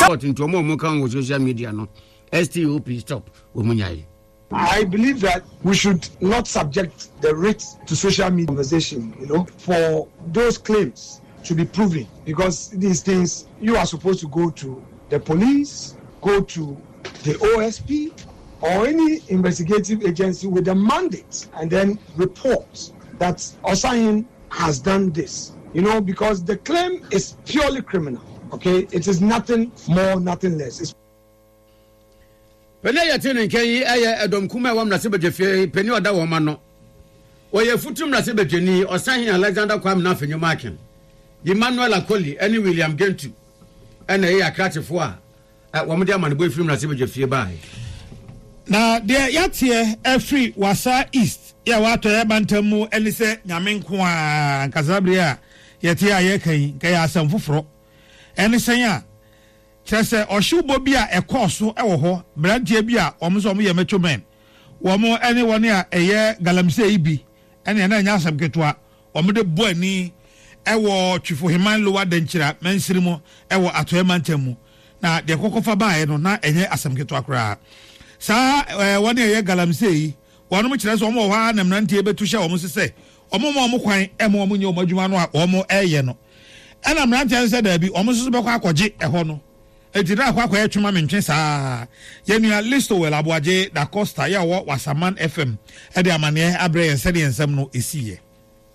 Court nti ɔmo a ɔmo ka wɔ social media no STOP stop wɔn nyae. I believe that we should not subject the writ to social media conversation, you know, for those claims to be proven because these things you are supposed to go to the police, go to the OSP or any investigative agency with a mandate and then report that Osahin has done this. You know, because the claim is purely criminal. Okay, it is nothing more, nothing less. It's Panin a yɛte ne nka yi yɛ ɛdɔm kumaa a ɛwɔ mmarahyɛbadwafie panin a ɔda wɔn ano. Ɔyɛ Afutu mmarahyɛbadwani, Ɔsahene Alexander Kwame Nafenyo Markin, Emmanuel Akoli ne William Gentu na ɛyɛ akrakyefoɔ a wɔde amanebɔ firi mmarahyɛbadwafie baeɛ. Na deɛ yɛateɛ afiri Wassa East yɛ wɔ atɔeɛ mantam mu ne sɛ Nyame nko ara nka saa bere a yɛte a yɛreka yi nka ɛyɛ asɛm foforɔ. Ɛne sɛn a? Kyerɛ sɛ ɔhyewbɔ bi a ɛkɔɔ so wɔ hɔ, mmeranteɛ bi a wɔn nso wɔyɛ macho men, wɔn ne wɔn a ɛyɛ galamsey yi bi, ɛnneɛ na ɛnyɛ asɛm ketewa, wɔde bɔ ani wɔ Twifo Heman Lower Dankyira mansini mu wɔ Atɔeɛ mantam mu. Na deɛ kɔkɔfa baeɛ no, na ɛnyɛ asɛm ketewa koraa. Saa wɔn a ɛyɛ galamsey yi, wɔnom kyerɛ sɛ wɔn wɔ hɔ ara na mmeranteɛ bɛtu hyɛ wɔn so sɛ wɔn mma wɔn kwan mma wɔn nyɛ wɔn adwuma no a wɔreyɛ no. Ɛna mmeranteɛ no sɛ daabi, wɔn nso so bɛkɔ akɔgye ɛhɔ no. Enti na akɔ akɔyɛ twema mentwe saa. Yɛn nua Listowel Aboagye Da Costa yɛ a ɔwɔ Wasaman FM de amaneɛ abrɛ yɛn sɛdeɛ nsɛm no siiɛ.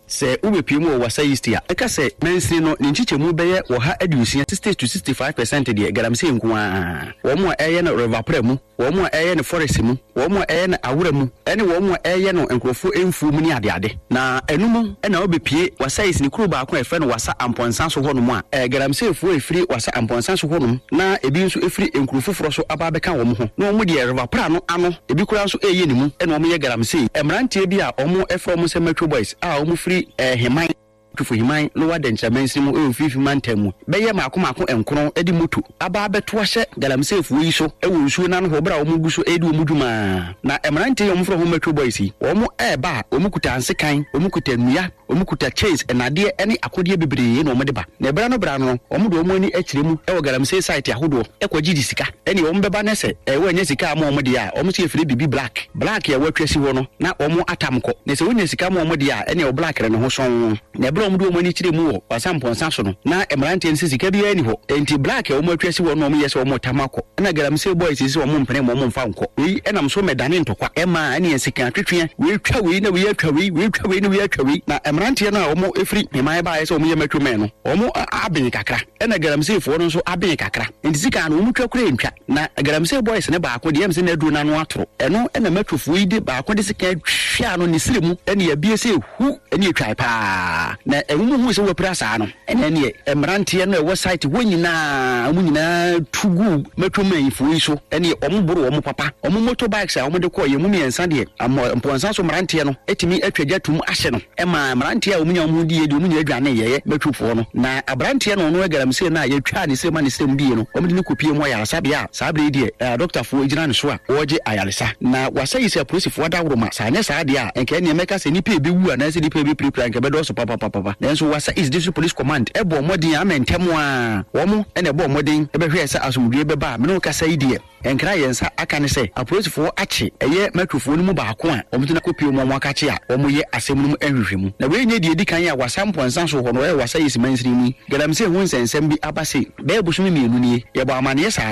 Sɛ wobepue mu wɔ Wassa East a, ɛka sɛ mansini no ne nkyekyɛmu bɛyɛ 160, 60 to 65 percent deɛ galamsey nko ara. Wɔn a ɛreyɛ no River Pra mu, wɔn a ɛreyɛ no forest mu, wɔn a ɛreyɛ no awora mu ne wɔn a ɛreyɛ no nkurɔfoɔ mfuo mu ne adeade. Na ɛno mu na wobepue Wassa East ne kuro baako a yɛfrɛ no Wassa Ampɔnsa so hɔnom a, galamseyfoɔ a ɛfiri Wassa Ampɔnsa so hɔnom na ebi nso firi nkuro foforɔ so aba abɛka wɔn ho na wɔn deɛ River Pra no ano ebi koraa nso reyɛ ne mu na wɔyɛ galamsey. Mmeranteɛ bi a wɔfrɛ wɔn sɛ Metro Boys a wɔfiri Heman, Twifo Heman, Lower Denkyira mansini mu wɔ Mfinimfini Mantam mu bɛyɛ mmaako mmaako nkron de moto aba abɛto ahyɛ galamseyfoɔ yi so wɔ nsuo no ano hɔ berɛ a wɔgu so redi wɔn dwuma. Na mmeranteɛ yi a wɔfrɛ wɔn Metro Boys yi, wɔreba a wɔkuta nsekan, wɔkuta nnua, Wɔkuta chains, nnadeɛ ne akodeɛ bebree na wɔde ba. Na ɛberɛ ano berɛ ano no, wɔde wɔn ani kyerɛ mu wɔ galamsey site ahodoɔ kɔgyegye sika. Ɛnneɛ wɔbɛba na sɛ wɔannya sika amma wɔn deɛ a, wɔn nso yɛfrɛ biribi black. Black a wɔatwa asi hɔ no, na wɔatam kɔ. Na sɛ wɔnya sika ma wɔn deɛ a, ɛnneɛ black no ne ho sɔnn. Na ɛberɛ a wɔde wɔn ani kyerɛɛ mu wɔ Kwasampɔnsa so no, na mmeranteɛ no sɛ sika biara nni hɔ. Enti black a wɔatwa asi hɔ no na wɔyɛ sɛ wɔretam akɔ. Ɛnna galamsey boys yi sɛ wɔmpene mma wɔmfa nkɔ. Wei nam so mɛdane ntɔkwa. Ɛmaa ɛne nsekan atwetweɛ. Wei twa wei na wei atwa wei, wei twa wei na wei atwa wei. Na mmeranteɛ no a wɔfiri Heman baeɛ sɛ wɔyɛ macho men no, wɔn aben kakra. Ɛnna galamseyfoɔ no nso aben kakra. Enti sekan no, wɔtwa koraa ntwa. Na galamsey boys no baako deɛ, ɛyɛ me sɛ n'aduro no ano atoro. Ɛno na machofoɔ yi de baako de sekan twaa no ne srɛ mu, ɛnna abie sɛ hu, ɛnna ɛtwae pa ara. Na wɔhuu sɛ wapira saa no, Ɛnɛ neɛ mmeranteɛ no a ɛwɔ site hɔ nyinaa wɔn nyinaa tu guu mɛtwomanfoɔ yi so ɛneɛ wɔn boro wɔn papa. Wɔn motor bikes a wɔn de kɔɔ yɛn mu mmiɛnsa deɛ amɔ mpɔnsa so mmeranteɛ no tumi atwa gya tum ahye no ɛmaa mmeranteɛ a wɔn nya wɔn ho diiɛ deɛ wɔn nyinaa dwane yɛɛ mɛtwofoɔ no. Na abranteɛ no ɔno galamsey no a yɛtwaa ne srem a ne srem diiɛ no wɔn de no kɔpie mu ayaresabea a saa berɛ yi deɛ adɔktafoɔ gyina ne so a wɔregye ayaresa. Na wɔasɛe sɛ apolisifoɔ adaworoma, sɛ anyɛ saa deɛ a, anka ɛnneɛ mɛka sɛ nnipa a ɛbɛwu anaasɛ nnipa a ɛbɛpirapira anka ɛbɛdɔɔso papapapapa. Nanso Wassa East District Police Command bɔɔ mmɔden a ama ntɛm ara wɔn na ɛbɔɔ mmɔden bɛhwɛɛ sɛ asomdwoeɛ bɛba a me ne wo kasa yi deɛ, nkra a yɛn nsa aka ne sɛ apolisifoɔ akye ɛyɛ Metrofoɔ no mu baako a wɔde no akɔpue wɔn akakye a wɔyɛ asɛm no mu nhwehwɛmu. Na wei nyɛ deɛ ɛdi kan a Wassa Mpɔnsa so hɔ no ɛwɔ Wassa East mansini mu yi, galamsey ho nsɛnsɛm bi aba sei. Bɛyɛ bosome mmienu nie, yɛbɔ amaneɛ saa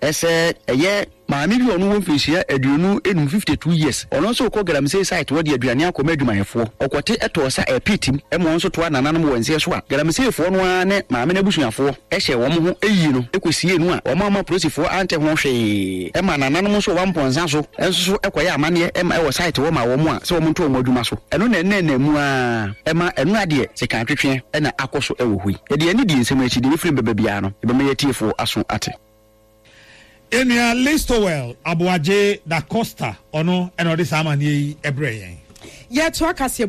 ara sɛ ɛyɛ. Maame bi a ɔno wɔ mfirihyia 25, 52 years, ɔno nso rekɔ galamsey site hɔ de aduane akɔma adwumayɛfoɔ. Ɔkɔte tɔɔ sa ɛpit mu ma ɔno nso toa nananom wɔ nseɛ so a galamseyfoɔ no ara ne maame no abusuafoɔ hyɛɛ wɔn ho yii no kɔsiee no a wɔn amma polisifoɔ ante ho hwee ma nananom nso wɔ Wampɔnsa so nso so kɔyɛ amanneɛ ma ɛwɔ site hɔ ma wɔn a sɛ wɔn nto wɔn adwuma so. Ɛno na ɛnna ɛnam mu ara ma ɛno adeɛ sekan-twetweɛ na akɔ so wɔ hɔ yi. Yɛde yɛn ani di nsɛm akyi, deɛ ɛbɛfiri mu bɛba biara no yɛbɛma yɛn atiefoɔ aso ate. Yɛn nua Listowel Aboagye Da Costa, ɔno na ɔde saa amanneɛ yi brɛɛ yɛn. Yɛtoa kaseɛbɔ.